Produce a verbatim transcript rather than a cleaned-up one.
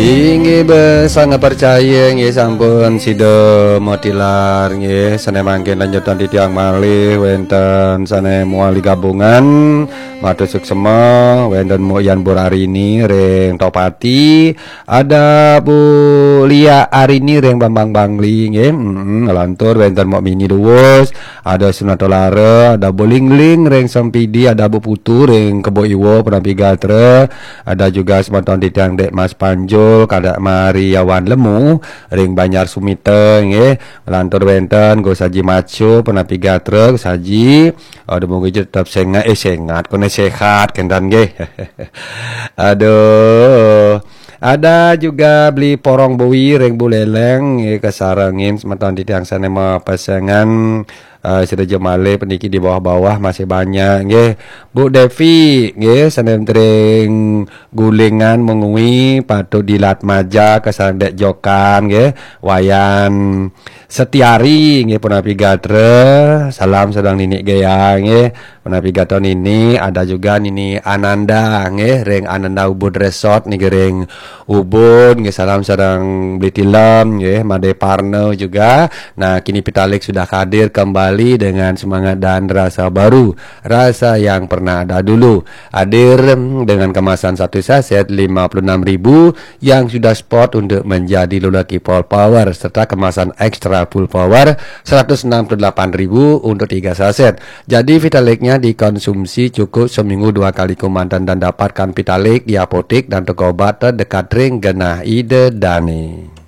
Inggih besang percaya nggih sampun sida matilar nggih, sané mangkin lanjutan titiang malih wénten sané muali gabungan matur suksema, wénten Mbok Yan Burarini ring Topati, ada Bu Lia Arini ring Bambang Bangli nggih. Mm-mm, lantur wénten Mbok Mini Duwus, ada Sunatolara, ada Bu Lingling ring Sempidi, ada Bu Putu ring Kebo Iwa punapi gatra, ada juga semeton titiang Dek Mas Panjul, Kadek Mariawan Lemu ring Banjar Sumita nggih. Lantur wénten Gus Haji Macu punapi gatra, Gus Haji. Aduh, mugi tetep sengat, eh, sengat, koné sehat kénten nggih. Aduh. Ada juga Beli Porong Bui ring Buleleng nggih, kasarengin semeton titiang sané mapesengan, eh, sida ja malih puniki di bawah-bawah masih banyak nggih. Bu Devi nggih, sané ring Gulingan Mengwi, Patu Dilat Maja, kasareng Dek Jokan nggih, Wayan Setiari nggih, punapi gatra, salam sedang Nini Gaya nggih, punapi gatra Nini, ada juga Nini Ananda nggih, ring Ananda Ubud Resort niki ring Ubud nggih, salam sedang Beli Tilem nggih, Made Parno juga. Nah, kini Pitalik sudah hadir kembali dengan semangat dan rasa baru, rasa yang pernah ada dulu. Hadir dengan kemasan satu saset lima puluh enam ribu yang sudah spot untuk menjadi lelaki full power serta kemasan extra full power seratus enam puluh delapan ribu untuk tiga saset. Jadi Vitalik-nya dikonsumsi cukup seminggu dua kali komandan dan dapatkan Vitalik di apotek dan toko obat terdekat ring genah ida dane.